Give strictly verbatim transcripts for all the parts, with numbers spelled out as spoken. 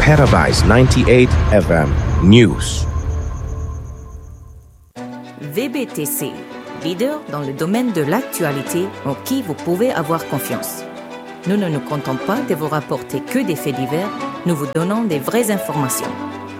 Paradise ninety-eight F M News. V B T C, leader dans le domaine de l'actualité en qui vous pouvez avoir confiance. Nous ne nous contentons pas de vous rapporter que des faits divers, nous vous donnons des vraies informations.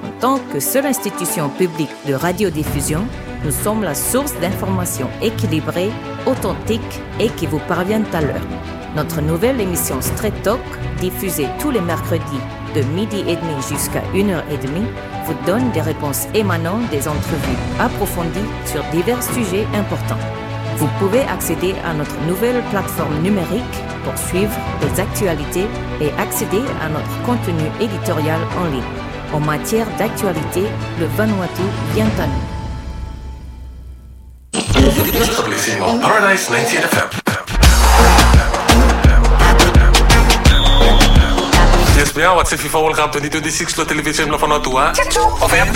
En tant que seule institution publique de radiodiffusion, nous sommes la source d'informations équilibrées, authentiques et qui vous parviennent à l'heure. Notre nouvelle émission Straight Talk, diffusée tous les mercredis de midi et demi jusqu'à une heure et demie, vous donne des réponses émanant des entrevues approfondies sur divers sujets importants. Vous pouvez accéder à notre nouvelle plateforme numérique pour suivre les actualités et accéder à notre contenu éditorial en ligne. En matière d'actualité, le Vanuatu vient à nous. Paradise ninety-eight F M. Yes, we are. What's the FIFA World Cup twenty twenty-six lo television blo Vanuatu, a? Of M.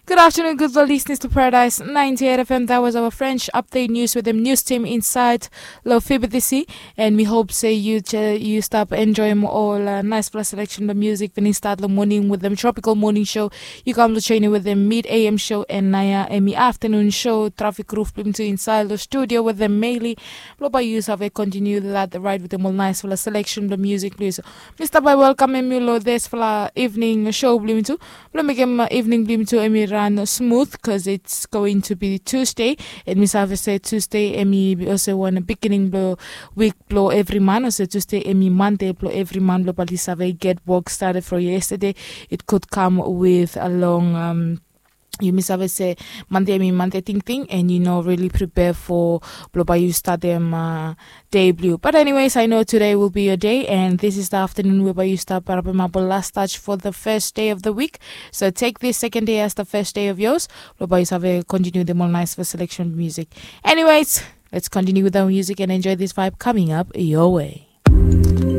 Good afternoon, good listeners to Paradise ninety-eight F M. That was our French update news with the news team inside lo Fibidisi. And we hope se yu, yu stap enjoem ol, uh, naesfala selection blo music we i stap lo moning with them tropical morning show. Yu kam lo joining with them mid A M show and naoia hemi afternoon show. Traffic roof blo mi tu inside lo studio with them mainly. Blo bae yu save continue that ride with them ol naesfala selection blo music, please. Mi stap bae welkamem yu lo disfala evening show blo mi tu. Blo mekem, uh, evening blo mi tu hemi ran smooth, 'cause it's going to be Tuesday. And mi save se Tuesday hemi olsem wan beginning blo wik blo evri man, olsem Tuesday hemi Monday blo evri man, blo bae yu save get work started from yesterday. It could come with a long, um, yumi save se Monday hemi Monday tingting, and yu no really prepare for blo bae yu statem, uh, dei blo yu. But anyways, I know today will be your day, and this is the afternoon we bae yu stap harapemap ol last touch for the first day of the week. So take this second day as the first day of yours. Blo bae yu save continue them ol naesfala selection music. Anyways, let's continue with our music and enjoy this vibe coming up your way.